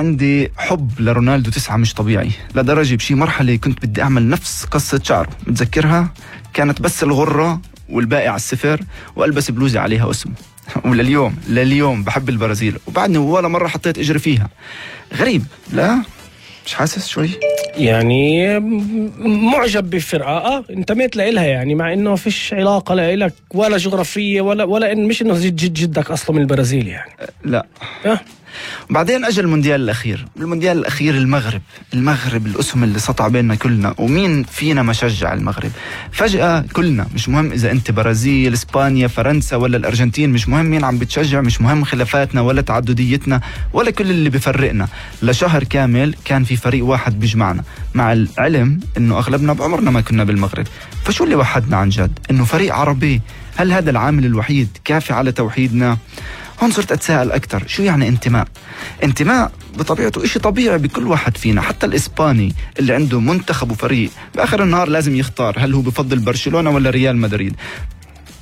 عندي حب لرونالدو 9 مش طبيعي، لدرجة بشي مرحلة كنت بدي أعمل نفس قصة شعره، متذكرها؟ كانت بس الغرة والباقي على السفر، وألبس بلوزة عليها اسمه. ولليوم بحب البرازيل، وبعدني ولا مرة حطيت إجري فيها. غريب، لا؟ مش حاسس شوي؟ يعني معجب بفرقة انتميت لإلها، يعني مع انه فيش علاقة لإلك ولا جغرافية ولا إن مش انه جدك اصلا من البرازيل يعني. لا. وبعدين اجى المونديال الاخير. المغرب الاسم اللي سطع بيننا كلنا، ومين فينا ما شجع المغرب؟ فجأة كلنا، مش مهم اذا انت برازيل، اسبانيا، فرنسا ولا الارجنتين، مش مهم مين عم بتشجع، مش مهم خلافاتنا ولا تعدديتنا ولا كل اللي بفرقنا. لشهر كامل كان في فريق واحد بيجمعنا، مع العلم انه اغلبنا بعمرنا ما كنا بالمغرب. فشو اللي وحدنا عن جد؟ انه فريق عربي. هل هذا العامل الوحيد كافي على توحيدنا؟ هون صرت أتساءل أكتر، شو يعني انتماء؟ انتماء بطبيعته إشي طبيعي بكل واحد فينا، حتى الإسباني اللي عنده منتخب وفريق بآخر النهار لازم يختار هل هو بفضل برشلونة ولا ريال مدريد.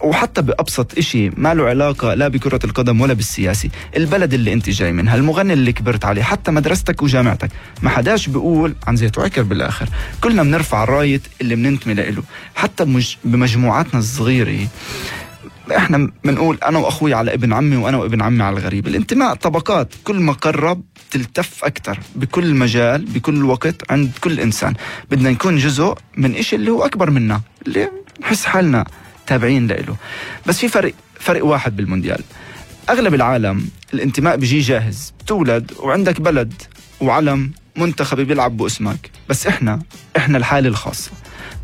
وحتى بأبسط إشي ما له علاقة لا بكرة القدم ولا بالسياسي، البلد اللي انت جاي منها، المغني اللي كبرت عليه، حتى مدرستك وجامعتك، ما حداش بيقول عن زيت وعكر بالآخر. كلنا بنرفع الراية اللي بننتمي له. حتى بمجموعاتنا الصغيرة احنا بنقول انا واخوي على ابن عمي وانا وابن عمي على الغريب. الانتماء طبقات، كل ما قرب تلتف اكتر بكل مجال بكل وقت عند كل انسان. بدنا نكون جزء من اشي اللي هو اكبر منا، اللي نحس حالنا تابعين له. بس في فرق واحد بالمونديال. اغلب العالم الانتماء بيجي جاهز، بتولد وعندك بلد وعلم منتخب بيلعب باسمك. بس احنا الحالة الخاصة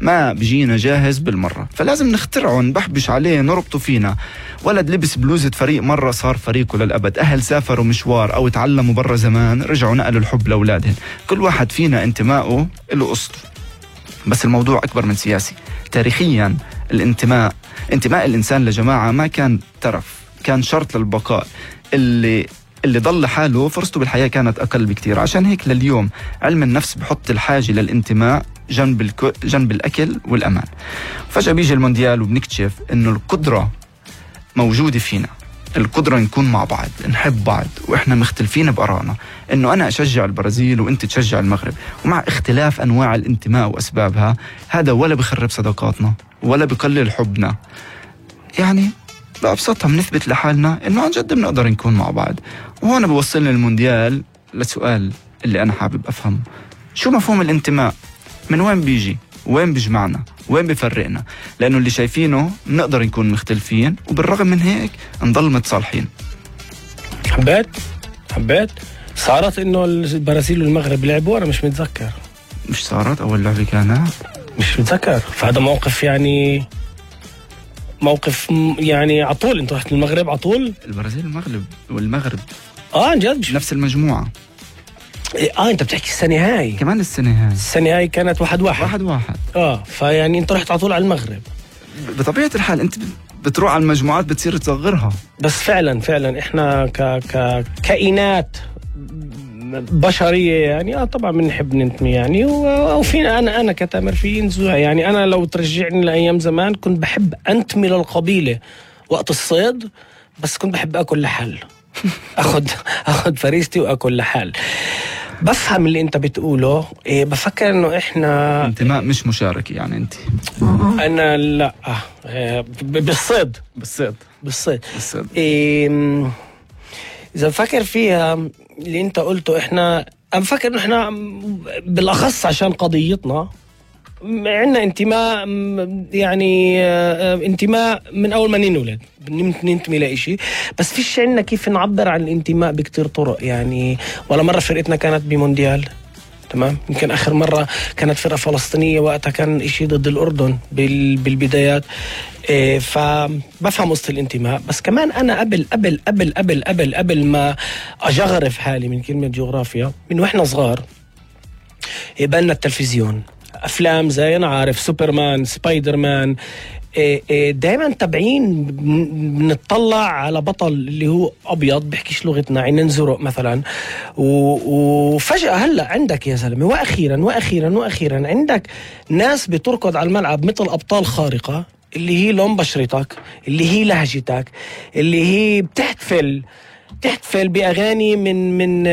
ما بيجينا جاهز بالمرة، فلازم نخترعه، نبحبش عليه، نربطه فينا. ولد لبس بلوزة فريق مرة صار فريقه للأبد، أهل سافروا مشوار أو تعلموا برا زمان رجعوا نقلوا الحب لأولادهم. كل واحد فينا انتمائه له قصته. بس الموضوع أكبر من سياسي. تاريخيا انتماء الإنسان لجماعة ما كان ترف، كان شرط للبقاء. اللي ضل حاله فرصته بالحياة كانت أقل بكتير. عشان هيك لليوم علم النفس بحط الحاجة للانتماء جنب الأكل والأمان. فجأة بيجي المونديال وبنكتشف إنه القدرة موجودة فينا، القدرة نكون مع بعض، نحب بعض وإحنا مختلفين بآرائنا، إنه أنا أشجع البرازيل وإنت تشجع المغرب، ومع اختلاف أنواع الانتماء وأسبابها. هذا ولا بخرب صداقاتنا ولا بقلل حبنا. يعني بأبسطها بنثبت لحالنا إنه عن جد بنقدر نكون مع بعض. وهون بوصلنا المونديال لسؤال اللي أنا حابب أفهمه: شو مفهوم الانتماء؟ من وين بيجي؟ وين بيجمعنا؟ وين بيفرقنا؟ لأنه اللي شايفينه نقدر نكون مختلفين وبالرغم من هيك نضل متصالحين. حبيت صارت إنه البرازيل والمغرب لعبوا، أنا مش متذكر. مش صارت أول لعبة كانت؟ مش متذكر. فهذا موقف يعني عطول. انتوا رحت المغرب عطول؟ البرازيل والمغرب عن جد نفس المجموعة. انت بتحكي السنة هاي كمان. السنة هاي كانت 1-1. فيعني انت رحت عطول على المغرب. بطبيعة الحال انت بتروح على المجموعات بتصير تصغرها. بس فعلا احنا كائنات بشرية يعني طبعا بنحب ننتمي يعني. وفينا انا كتامر في نزوع يعني. انا لو ترجعني لايام زمان كنت بحب انتمي للقبيلة وقت الصيد، بس كنت بحب اكل لحال. اخذ فريستي واكل لحال. بفهم اللي انت بتقوله. بفكر انه احنا انتماء مش مشاركة يعني. انت انا لا بالصيد. اذا بفكر فيها اللي انت قلته، احنا بفكر انه احنا بالاخص عشان قضيتنا عندنا انتماء يعني انتماء من اول ما ننولد ننتمي لإشي. بس فيش عندنا كيف نعبر عن الانتماء بكتير طرق يعني. ولا مرة فرقتنا كانت بمونديال، تمام. يمكن آخر مرة كانت فرقة فلسطينية، وقتها كان إشي ضد الأردن بالبدايات. فبفهم قصة الانتماء. بس كمان أنا قبل ما أجغرف حالي من كلمة جغرافيا، من وإحنا صغار يبقى التلفزيون أفلام زي أنا عارف سوبرمان، سبايدر مان، دائما تابعين بنطلع على بطل اللي هو أبيض بيحكيش لغتنا، عينين زرق مثلا. وفجأة هلأ عندك يا زلمة وأخيرا عندك ناس بتركض على الملعب مثل أبطال خارقة، اللي هي لون بشرتك، اللي هي لهجتك، اللي هي بتحتفل بأغاني من